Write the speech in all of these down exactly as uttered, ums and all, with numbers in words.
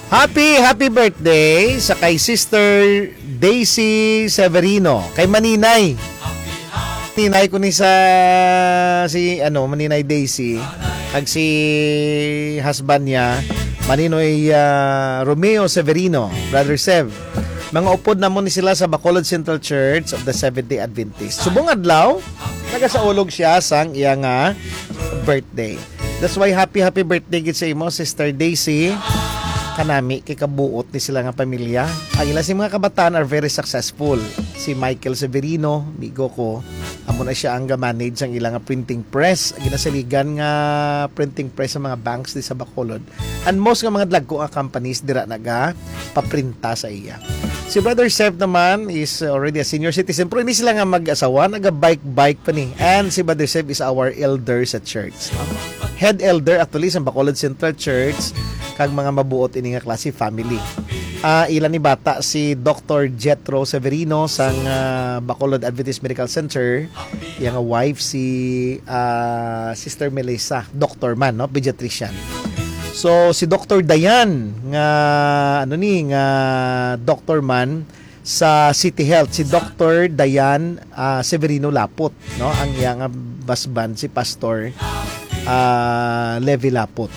Happy, happy birthday sa kay Sister Daisy Severino, kay Maninay. Tinay ko ni sa si, ano, Maninay Daisy, kag si husband niya, Maninoy, ah, Romeo Severino, Brother Sev. Mga upod namon ni sila sa Bacolod Central Church of the Seventh-day Adventist. Subong adlaw, nagasaulog siya sang iya nga birthday. That's why happy, happy birthday gid sa imo, Sister Daisy. Kanami kay kabuot ni sila nga pamilya. Ang ila sing mga kabataan are very successful. Si Michael Severino, migo ko, amo na siya ang ga-manage ang ila nga printing press. Ginasaligan nga printing press sa mga banks di sa Bacolod. And most nga mga dagko nga companies dira naga paprinta sa iya. Si Brother Sev naman is already a senior citizen, pero hindi sila nga mag-asawa, naga-bike-bike pa ni. And si Brother Sev is our elder sa church, no? Head elder actually sa Bacolod Central Church, kag mga mabuot ini nga klase family. Ah, ila ni bata si Doctor Jethro Severino sang, ah, Bacolod Adventist Medical Center, iya nga wife si, ah, Sister Melissa, doctor man, no, pediatrician. So si Doctor Dayan nga, ano ni, nga doctor man sa City Health, si Doctor Dayan, ah, Severino Lapot, no, ang iya nga husband si Pastor, ah, Levi Lapot.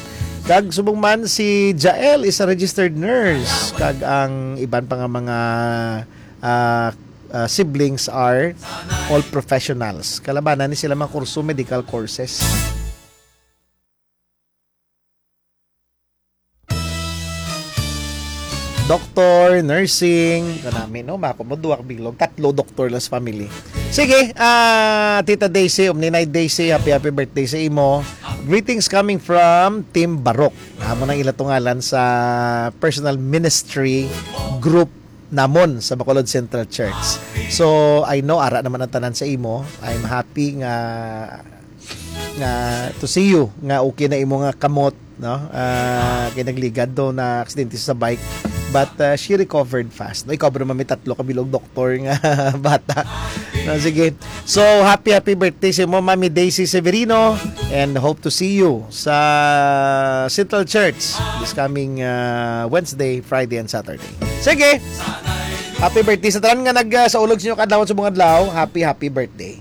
Kag subong man si Jael is a registered nurse, kag ang iban pa nga mga, ah, ah, siblings are all professionals. Kalabanan ni sila mga kurso, medical courses. Doctor, nursing, kanami, no? Mako mo, duwa ka bilog, tatlo doktor las family. Sige, ah, Tita Daisy, Omninay Daisy, happy, happy birthday sa imo. Greetings coming from Team Barok. Amo nang ila tungalan sa personal ministry group namon sa Bacolod Central Church. So, I know, ara naman ang tanan sa imo. I'm happy nga nga to see you nga okay na imo nga kamot, no? Ah, kay nagligad do na aksidente sa bike, but, ah, she recovered fast. No, ikaw ba naman may tatlo ka bilog doktor nga bata? No, sige. So, happy, happy birthday sa imo, Mami Daisy Severino, and hope to see you sa Central Church this coming, ah, Wednesday, Friday, and Saturday. Sige. Happy birthday sa tanan nga nag, ah, sa ulog sa inyo kadlawon sa mga adlaw. Happy, happy birthday.